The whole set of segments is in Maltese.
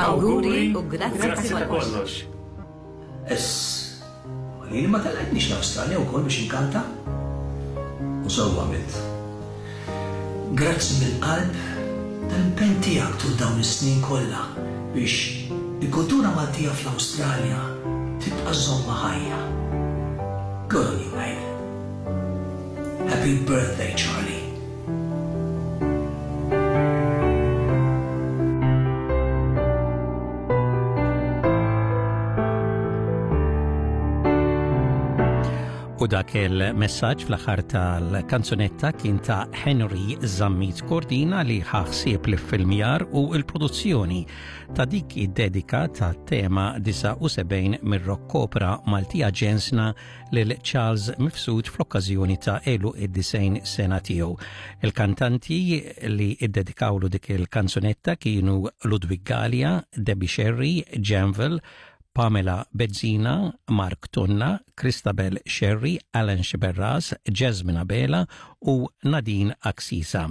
Awguri u grazzi ta' kollox. Ess, ma lili ma tellgħetnix l-Awstralja wkoll biex inkanta? U sewwa għamilt. Grazzi mill-qalb tal-impenn tiegħek tul dawn is-snin kollha biex il-kultura Maltija fl-Awstralja tibqa' żżommha ħajja. Good on you mate. Happy birthday Charlie. U dak il-messaġġ fl-aħħar tal-kanzunetta kien ta' Henry Zammit Cordina li ħaħsieb li filmjar u l-produzzjoni ta' dik id-dedika ta' tema 79 mir-rock opera Maltija Ġensna lil Charles Mifsud fl-okkażjoni ta' għeluq id-90 sena tiegħu. Il-kantanti li iddedikawlu dik il-kanzunetta kienu Ludwig Galea, Debbie Scerri, Janvil, Pamela Bezzina, Mark Tonna, Christabel Scerri, Alan Sciberras, Jasmine Abela u Nadine Axisa.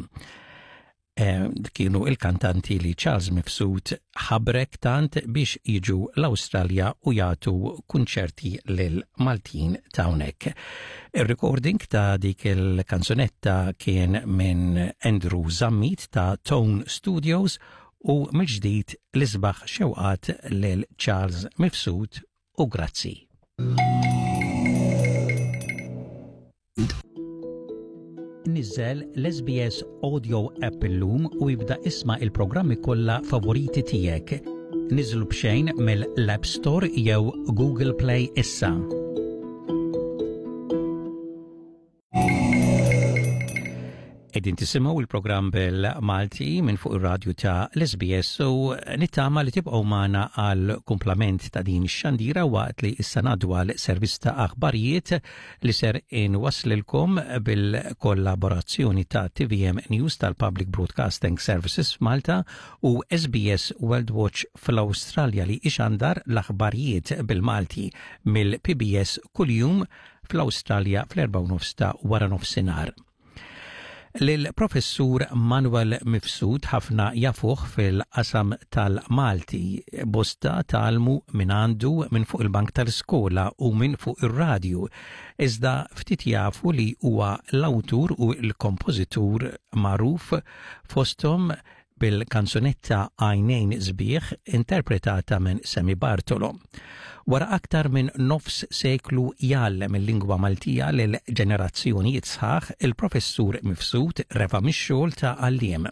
Eh, kienu il-kantanti li Charles Mifsud ħabrek tant biex jiġu l-Awstralja u jagħtu kunċerti lil Maltin ta' hawnhekk. Ir-recording ta' dik il-kanzunetta kien minn Andrew Zammit ta' Tone Studios u mill-ġdid l-isbaħ xewqat lil Charles Mifsud u grazzi. Niżżel l-SBS Audio app illum u ibda isma' il-programmi kollha favoriti tiegħek. Niżlu b'xejn mill-App Store jew Google Play issa. Qegħdin tisimgħu il-programm bil-Malti minn fuq ir-radju ta' l-SBS u nittama li tibqgħu magħna għal kumplament ta' din ix-xandira waqt li issa ngħaddu għal servizz ta' aħbarijiet li ser inwasslilkom bil-kollaborazzjoni ta' TVM News tal-Public Broadcasting Services f'Malta u SBS World Watch fl-Awstralja li ixandar l-aħbarijiet bil-Malti mill-PBS kuljum fl-Awstralja fl-4:30 ta' waranofsinhar. Lill-Professur Manuel Mifsud ħafna jafuh fil-qasam tal-Malti. Bosta tgħallmu mingħandu minn fuq il-bank tal-iskola u minn fuq ir-radju. Iżda ftit jafu li huwa l-awtur u l-kompożitur magħruf fosthom bil-kanzunetta Għajnejn Sbieħ interpretata minn Sammy Bartolo. Wara aktar minn nofs seklu jgħallem il-lingwa Maltija lil ġenerazzjonijiet sħaħ, il-Professur Mifsud refa' mix-xogħol ta' għalliem.